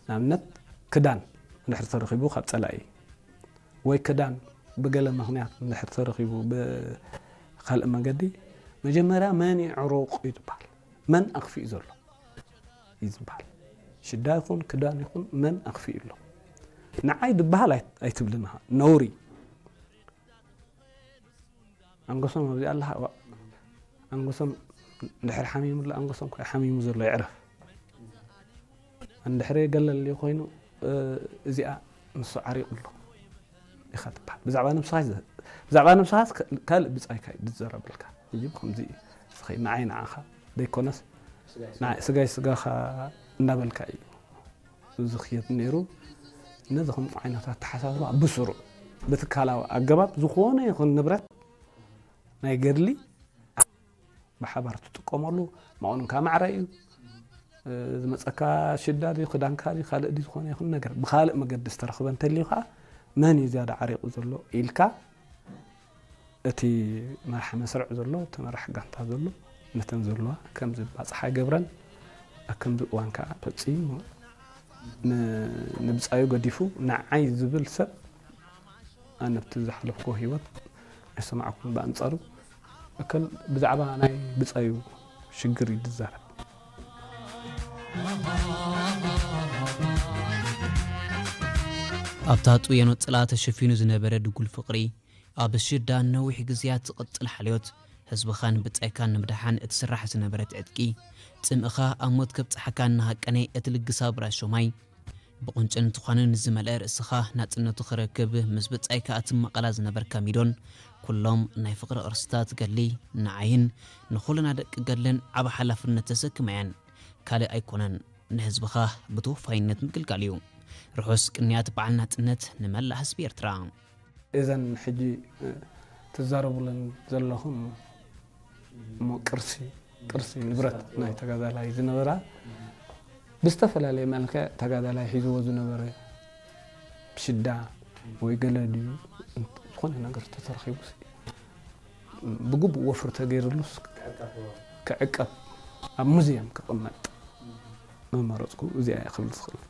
ንኣብነት ክዳን እንድሕር ተረኺቡ ካብ ጸላኢ ወይ ክዳን ብገለ ምኽንያት እንድሕር ተረኺቡ ብኻልእ መገዲ መጀመርያ መን ይዕሩቕ እዩ ዝበሃል። መን ኣኽፊኡ ዘሎ እዩ ዝበሃል። ሽዳ ይኹን ክዳን ይኹን መን ኣኽፊኡ ኣሎ። ንዓይ ዝበሃል ኣይ- ኣይትብልን ኢኻ። ነውሪ። ኣንገሶም ኣብዚ ኣለኻ። ዋ- ኣንገሶም እንድሕር ሓሚሙ ኣሎ፣ ኣንገሶም እኮ ሓሚሙ ዘሎ ይዕረፍ። እንድሕር ገለል ኮይኑ እዚኣ ንሱ ዓሪቑ ኣሎ ኢኻ ትበሃል። ብዛዕባ ነብስኻ ይዘ- ብዛዕባ ነብስኻስ ከ- ካልእ ብጻይካ እዩ ዝዘረበልካ። ሕጂ ብኸምዚ እዩ ዝኸይድ። ንዓይ ንዓኻ ዘይኮነስ ንዓይ ስጋይ ስጋኻ እንዳበልካ እዩ ዝኽየድ ነይሩ። ነዚ ከምኡ ዓይነት ኣተሓሳስባ ብስሩዕ ብትካላዊ ኣገባብ ዝኾነ ይኹን ንብረት ናይ ገድሊ ብሓባር ትጥቀመሉ መቐኑንካ ማዕረ እዩ። ዝመፀካ ሽዳ ድዩ ክዳንካ ድዩ ካልእ ድዩ ዝኾነ ይኹን ነገር ብኻልእ መገዲ ዝተረኽበ እንተልዩ ከዓ መን እዩ ዝያዳ ዓሪቑ ዘሎ ኢልካ እቲ መራሒ መስርዕ ዘሎ እቲ መራሕ ጋንታ ዘሎ ነተን ዘለዋ ከምዚ ባፅሓ ይገብረን ኣብ ከምዚ እዋን ከዓ ፈፂሙ ንብፃዩ ገዲፉ ንዓይ ዝብል ሰብ ኣነ ኣብቲ ዝሓለፍኩ ህይወት ኣይሰማዕኩን። ብኣንፃሩ እከል ብዛዕባ ናይ ብፃዩ ሽግር እዩ ዝዛረብ። ኣብታ ጥየኖ ጽላ ተሸፊኑ ዝነበረ ድጉል ፍቕሪ ኣብ ሽዳ ነዊሕ ግዜያት ዝቕጽል ሓልዮት ህዝብኻን ብጻይካን ንምድሓን እትስራሕ ዝነበረት ዕጥቂ ጽምእኻ ኣብ ሞት ከብጽሓካ እናሃቀነ እቲ ልግሳ ብራሾማይ ብቑንጭን ትዃንን ዝመልአ ርእስኻ ናጽነቱ ክረክብ ምስ ብጻይካ እትመቐላ ዝነበርካ ሚዶን ኩሎም ናይ ፍቕሪ ቅርስታት ገድሊ ንዓይን ንኹልና ደቂ ገድልን ዓቢ ሓላፍነት ተሰክማ እየን። ካልእ ኣይኮነን ንህዝብኻ ብተወፋይነት ምግልጋል እዩ። ርሑስ ቅንያት በዓል ናጽነት ንመላእ ህዝቢ ኤርትራ። እዘን ሕጂ ትዛረቡለን ዘለኹም እሞ ቅርሲ ቅርሲ ንብረት ናይ ተጋዳላይ ዝነበራ ብዝተፈላለየ መልክዕ ተጋዳላይ ሒዝዎ ዝነበረ ብሽዳ ወይ ገለ ድዩ ዝኾነ ነገር ተተረኺቡ ብግቡእ ወፍሪ ተገይርሉስ ክዕቀብ ኣብ ሙዚየም ክቕመጥ መመረፅኩ። እዚኣ እየ ክብል ዝኽእል።